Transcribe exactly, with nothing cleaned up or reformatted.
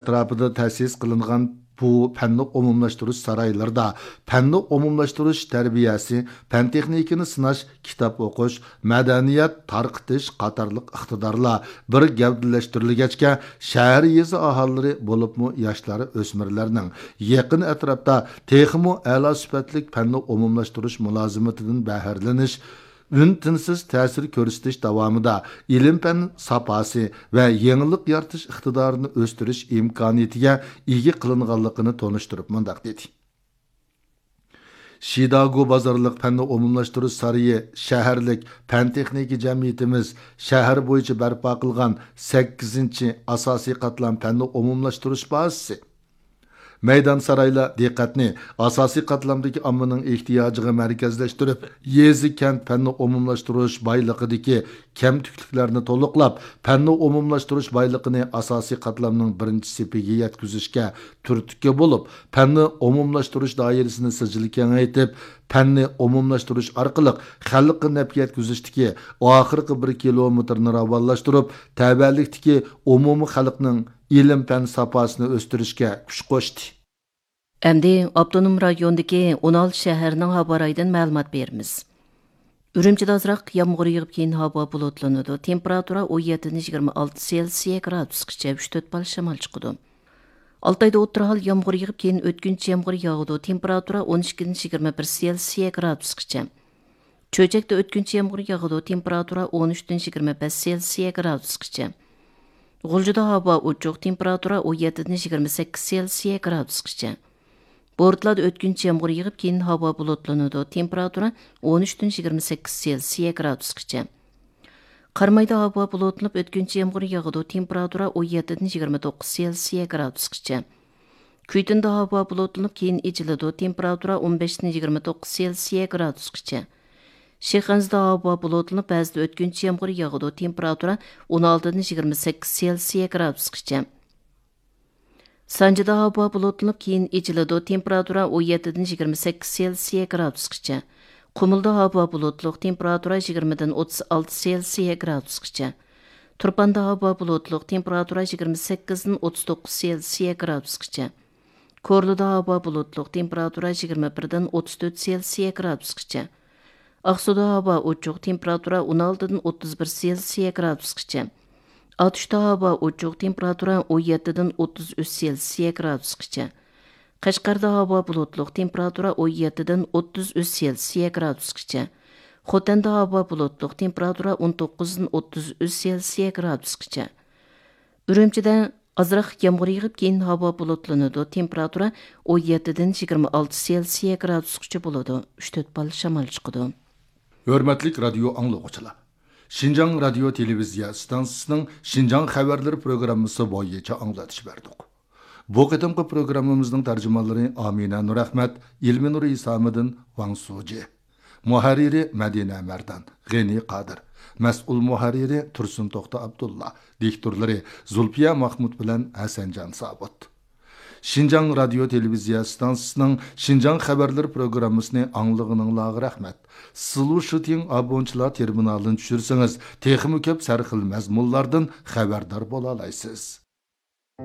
ئەتراپىدا تەسىس قىلىنغان بۇ پەننى ئومۇملاشتۇرۇش سارايلىرىدا پەننى ئومۇملاشتۇرۇش تەربىيەسى، پەن تېخنىكىنى سىناش، كىتاب ئوقۇش، مەدەنىيەت تارقىتىش قاتارلىق ئىقتىدارلار بىر گەۋدىلەشتۈرۈلگەچكە، شەھەر، يېزا ئاھالىلىرى، بولۇپمۇ ياشلار، ئۆسمۈرلەرنىڭ يېقىن ئەتراپتا تېخىمۇ ئەلا سۈپەتلىك پەننى ئومۇملاشتۇرۇش مۇلازىمىتىدىن بەھرىلىنىش، ئۈن-تىنسىز تەسىر كۆرسىتىش داۋامىدا ئىلىم-پەن ساپاسى ۋە يېڭىلىق يارىتىش ئىقتىدارىنى ئۆستۈرۈش ئىمكانىيىتىگە ئىگە قىلىنغانلىقىنى تونۇشتۇرۇپ مۇنداق دېدى: شىداگو بازارلىق پەننى ئومۇملاشتۇرۇش سارىيى شەھەرلىك پەن-تېخنىكا جەمئىيىتىمىز شەھەر بويىچە بەرپا قىلغان سەككىزىنچى ئاساسىي قاتلام پەننى ئومۇملاشتۇرۇش بازىسى. مەيدان سارايلار دىققەتنى ئاساسىي قاتلامدىكى ئاممىنىڭ ئېھتىياجىغا مەركەزلەشتۈرۈپ، يېزا، كەنت پەننى ئومۇملاشتۇرۇش بايلىقىدىكى كەمتۈكلۈكلەرنى تولۇقلاپ، پەننى ئومۇملاشتۇرۇش بايلىقىنى ئاساسىي قاتلامنىڭ بىرىنچى سېپىگە يەتكۈزۈشكە تۈرتكە بولۇپ، پەننى ئومۇملاشتۇرۇش دائىرىسىنى سىجىل كېڭەيتىپ، پەننى ئومۇملاشتۇرۇش ئارقىلىق خەلققە نەپ يەتكۈزۈشتىكى ئاخىرقى بىر كىلومېتىرنى راۋانلاشتۇرۇپ، تەۋەلىكتىكى ئومۇمىي خەلقنىڭ ئىلىم-پەن ساپاسىنى ئۆستۈرۈشكە كۈچ قوشتى. ئەمدى ئاپتونوم رايوندىكى ئون ئالتە شەھەرنىڭ ھاۋا رايىدىن مەلۇمات بېرىمىز. ئۈرۈمچىدە ئازراق يامغۇر يېغىپ، كېيىن ھاۋا بۇلۇتلىنىدۇ. تېمپېراتۇرا ئون يەتتىدىن يىگىرمە ئالتە سېلسىيە گرادۇسقىچە، ئۈچ تۆت بال شامال چىقىدۇ. ئالتايدا ئوتتۇرا ھال يامغۇر يېغىپ، كېيىن ئۆتكۈنچى يامغۇر ياغىدۇ. تېمپېراتۇرا ئون ئىككىدىن يىگىرمە بىر سېلسىيە گرادۇسقىچە. چۆچەكتە ئۆتكۈنچى يامغۇر ياغىدۇ، تېمپېراتۇرا ئون ئۈچتىن يىگىرمە بەش سېلسىيە گرادۇسقىچە. غۇلجىدا ھاۋا ئوچۇق، تېمپېراتۇرا ئون يەتتىدىن يىگىرمە سەككىز سېلسىيە گرادۇسقىچە. بورتالادا ئۆتكۈنچى يامغۇر يېغىپ، كېيىن ھاۋا بۇلۇتلىنىدۇ، تېمپېراتۇرا ئون ئۈچتىن يىگىرمە سەككىز سېلسىيە گرادۇسقىچە. قارامايدا ھاۋا بۇلۇتلىنىپ، ئۆتكۈنچى يامغۇر ياغىدۇ، تېمپېراتۇرا ئون يەتتىدىن يىگىرمە توققۇز سېلسىيە گرادۇسقىچە. كۈيتۇندا ھاۋا بۇلۇتلىنىپ، كېيىن ئېچىلىدۇ، تېمپېراتۇرا ئون بەشتىن يىگىرمە توققۇز سېلسىيە گرادۇسقىچە. شىخەنزىدە ھاۋا بۇلۇتلىنىپ، بەزىدە ئۆتكۈنچى يامغۇر ياغىدۇ، تېمپېراتۇرا ئون ئالتىدىن يىگىرمە سەككىز سېلسىيە گرادۇسقىچە. سانجىدا ھاۋا بۇلۇتلىنىپ، كېيىن ئېچىلىدۇ، تېمپېراتۇرا ئون يەتتىدىن يىگىرمە سەككىز سېلسىيە گرادۇسقىچە. قۇمۇلدا ھاۋا بۇلۇتلۇق، تېمپېراتۇرا يىگىرمىدىن ئوتتۇز ئالتە سېلسىيە گرادۇسقىچە. تۇرپاندا ھاۋا بۇلۇتلۇق، تېمپېراتۇرا يىگىرمە سەككىزدىن ئوتتۇز توققۇز سېلسىيە گرادۇسقىچە. كورلىدا ھاۋا بۇلۇتلۇق، تېمپېراتۇرا يىگىرمە بىردىن ئوتتۇز تۆت سېلسىيە گرادۇسقىچە. ئاقسۇدا ھاۋا ئوچۇق، تېمپېراتۇرا ئون ئالتىدىن ئوتتۇز بىر سېلسىيە گرادۇسقىچە. ئاتۇشتا ھاۋا ئوچۇق، تېمپېراتۇرا ئون يەتتىدىن ئوتتۇز ئۈچ سېلسىيە گرادۇسقىچە. قەشقەردە ھاۋا بۇلۇتلۇق، تېمپېراتۇرا ئون يەتتىدىن ئوتتۇز ئۈچ سېلسىيە گرادۇسقىچە. خوتەندە ھاۋا بۇلۇتلۇق، تېمپېراتۇرا ئون توققۇزدىن ئوتتۇز ئۈچ سېلسىيە گرادۇسقىچە. ئۈرۈمچىدە ئازراق يامغۇر يېغىپ، كېيىن ھاۋا بۇلۇتلىنىدۇ. تېمپېراتۇرا ئون يەتتىدىن يىگىرمە ئالتە سېلسىيە گرادۇسقىچە بولىدۇ. ئۈچ تۆت بال شامال چىقىدۇ. ھۆرمەتلىك رادىيو ئاڭلىغۇچىلار! شىنجاڭ رادىيو تېلېۋىزىيە ئىستانسىسىنىڭ شىنجاڭ خەۋەرلىرى پروگراممىسى بويىچە ئاڭلىتىش بەردۇق. بۇ قېتىمقى پروگراممىمىزنىڭ تەرجىمانلىرى ئامىنە نۇرئەخمەت، ئىلمىنۇر ئىسامىدىن، ۋاڭ سۇجى. مۇھەررىرى مەدىنە مەردان، غېنى قادىر. مەسئۇل مۇھەررىرى تۇرسۇن توختى ئابدۇللا. دىكتورلىرى زۇلپىيە ماخمۇت بىلەن ھەسەنجان سابىت. شىنجاڭ رادىيو تېلېۋىزىيە ئىستانسىسىنىڭ شىنجاڭ خەۋەرلىرى پروگراممىسىنى ئاڭلىغىنىڭلارغا رەھمەت. سىلۇشىتىڭ ئابونچىلار تېرمىنالىنى چۈشۈرسىڭىز، تېخىمۇ كۆپ سەرخىل مەزمۇنلاردىن خەۋەردار بولالايسىز.